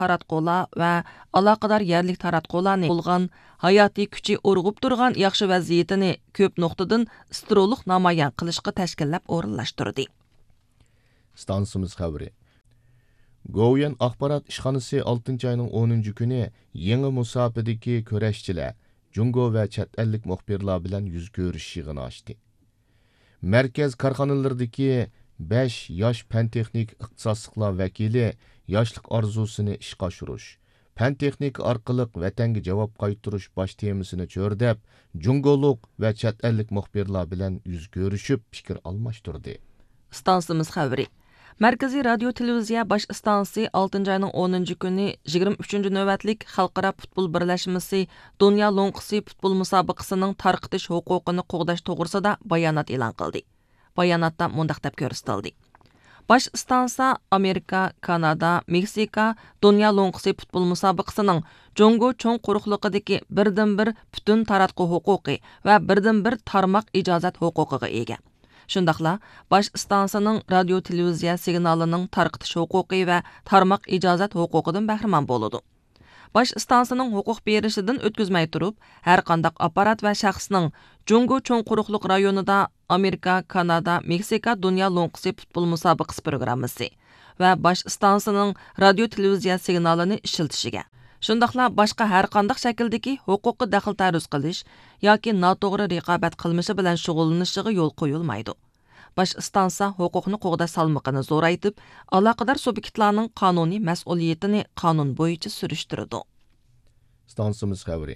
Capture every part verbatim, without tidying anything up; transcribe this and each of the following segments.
تاراتقۇلار ۋە ئالاقىدار يەرلىك تاراتقۇلارنى بولغان ھاياتىي كۈچى ئۇرغۇپ تۇرغان ياخشى ۋەزىيىتىنى كۆپ نۇقتىدىن ستېرېئولۇق نامايان قىلىشقا تەشكىللەپ ئورۇنلاشتۇردى. ئىستانسىمىز خەۋىرى. گوۋۇيۈەن ئاخبارات ئىشخانىسى ئالتىنچى ئاينىڭ ئونىنچى كۈنى يېڭى مۇساپىدىكى كۈرەشچىلەر جۇڭگو ۋە چەت ئەللىك مۇخبىرلار بىلەن يۈز كۆرۈشۈش يىغىنى ئاچتى. مەركەز كارخانىلىرىدىكى بەش ياش پەن تېخنىك ئىختىساسلىقلار ۋەكىلى ياشلىق ئارزۇسىنى ئىشقا ئاشۇرۇش، پەن تېخنىكا ئارقىلىق ۋەتەنگە جاۋاب قايتۇرۇش باش تېمىسىنى چۆرىدەپ، جۇڭگولۇق ۋە چەت ئەللىك مۇخبىرلار بىلەن يۈز كۆرۈشۈپ پىكىر ئالماشتۇردى. ئىستانسىمىز خەۋىرى. مەركىزىي رادىيو تېلېۋىزىيە باش ئىستانسىسى ئالتىنچى ئاينىڭ ئونىنچى كۈنى يىگىرمە ئۈچىنچى نۆۋەتلىك خەلقئارا پۇتبول بىرلەشمىسى دۇنيا لوڭقىسى پۇتبول مۇسابىقىسىنىڭ تارقىتىش ھوقۇقىنى قوغداش توغرىسىدا بايانات ئېلان قىلدى. باياناتتا مۇنداق دەپ كۆرسىتىلدى: باش ئىستانسا ئامېرىكا، كانادا، مېكسىكا دۇنيا لوڭقىسى پۇتبول مۇسابىقىسىنىڭ جۇڭگو چوڭ قۇرۇقلۇقىدىكى بىردىنبىر پۈتۈن تاراتقۇ ھوقۇقى ۋە بىردىنبىر تارماق ئىجازەت ھوقۇقىغا ئىگە. شۇنداقلا باش ئىستانسىنىڭ رادىيو تېلېۋىزىيە سىگنالىنىڭ تارقىتىش ھوقۇقى ۋە تارماق ئىجازەت ھوقۇقىدىن بەھرىمەن بولىدۇ. باش ئىستانسىنىڭ ھوقۇق بېرىشىدىن ئۆتكۈزمەي تۇرۇپ، ھەرقانداق ئاپپارات ۋە شەخسنىڭ جۇڭگو چوڭ قۇرۇقلۇق رايونىدا ئامېرىكا، كانادا، مېكسىكا دۇنيا لوڭقىسى پۇتبول مۇسابىقىسى پروگراممىسى ۋە باش ئىستانسىنىڭ رادىيو تېلېۋىزىيە سىگنالىنى ئىشلىتىشىگە، شۇنداقلا باشقا ھەرقانداق شەكىلدىكى ھوقۇققا دەخلى تەرۇز قىلىش ياكى ناتوغرا رىقابەت قىلمىشى بىلەن شۇغۇللىنىشىغا يول قويۇلمايدۇ. باش ئىستانسا ھوقۇقنى قوغداش سالمىقىنى زورايتىپ، ئالاقىدار سۇبيېكتلارنىڭ قانۇنىي مەسئۇلىيىتىنى قانۇن بويىچە سۈرۈشتۈرىدۇ. ئىستانسىمىز خەۋىرى.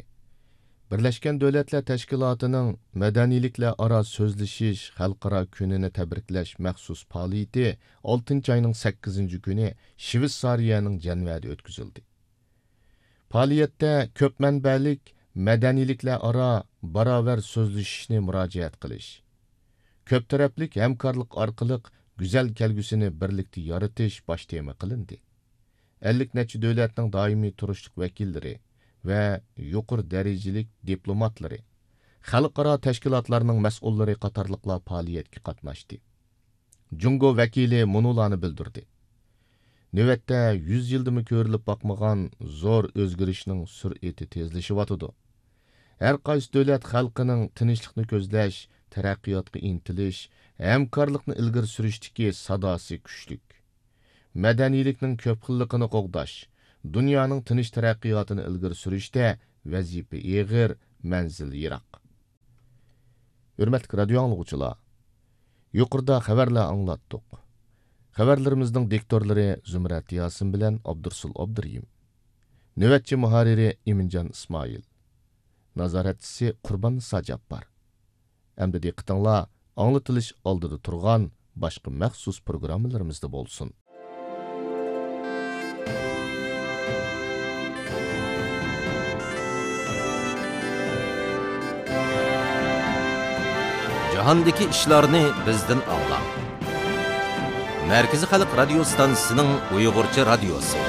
بىرلەشكەن دۆلەتلەر تەشكىلاتىنىڭ مەدەنىيلىكلەر ئارا سۆزلىشىش خەلقئارا كۈنىنى تەبرىكلەش مەخسۇس پائالىيىتى ئالتىنچى ئاينىڭ سەككىزىنچى كۈنى شىۋېتسارىيەنىڭ جەنۋەدە ئۆتكۈزۈلدى. پائالىيەتتە كۆپ مەنبەلىك مەدەنىيلىكلەر ئارا باراۋەر سۆزلىشىشنى مۇراجىئەت قىلىش، كۆپ تەرەپلىك ھەمكارلىق ئارقىلىق گۈزەل كەلگۈسىنى بىرلىكتە يارىتىش باش تېما قىلىندى. ئەللىك نەچچە دۆلەتنىڭ دائىمىي تۇرۇشلۇق ۋەكىللىرى ۋە يۇقىرى دەرىجىلىك دىپلوماتلىرى، خەلقئارا تەشكىلاتلارنىڭ مەسئۇللىرى قاتارلىقلار پائالىيەتكە قاتناشتى. جۇڭگو ۋەكىلى مۇنۇلارنى بىلدۈردى: نۆۋەتتە يۈز يىلدىمۇ كۆرۈلۈپ باقمىغان زور ئۆزگىرىشنىڭ سۈرئىتى تېزلىشىۋاتىدۇ. ھەر قايسى دۆلەت خەلقىنىڭ تىنچلىقنى كۆزلەش، تەرەققىياتقا ئىنتىلىش، ھەمكارلىقنى ئىلگىرى سۈرۈشتىكى ساداسى كۈچلۈك. مەدەنىيلىكنىڭ كۆپ خىللىقىنى قوغداش، دۇنيانىڭ تىنچ تەرەققىياتىنى ئىلگىرى سۈرۈشتە ۋەزىپە ئېغىر، مەنزىل يىراق. ھۆرمەتلىك رادىيو ئاڭلىغۇچىلار، يۇقىرىدا خەۋەرلەر ئاڭلاتتۇق. خەۋەرلىرىمىزنىڭ دىكتورلىرى زۇمرەت ياسىن بىلەن ئابدۇرسۇل ئابدۇرېھىم. نۆۋەتچى مۇھەررىرى ئىمىنجان ئىسمائىل. نازارەتچىسى قۇرباننىسا جاپپار. ئەمدى دىققىتىڭلار ئاڭلىتىلىش ئالدىدا تۇرغان باشقا مەخسۇس پروگراممىلىرىمىزدا بولسۇن. جاھاندىكى ئىشلارنى بىزدىن ئاڭلاڭ. مەركىزىي خەلق رادىيو ستانسىسىنىڭ ئۇيغۇرچە رادىيوسى.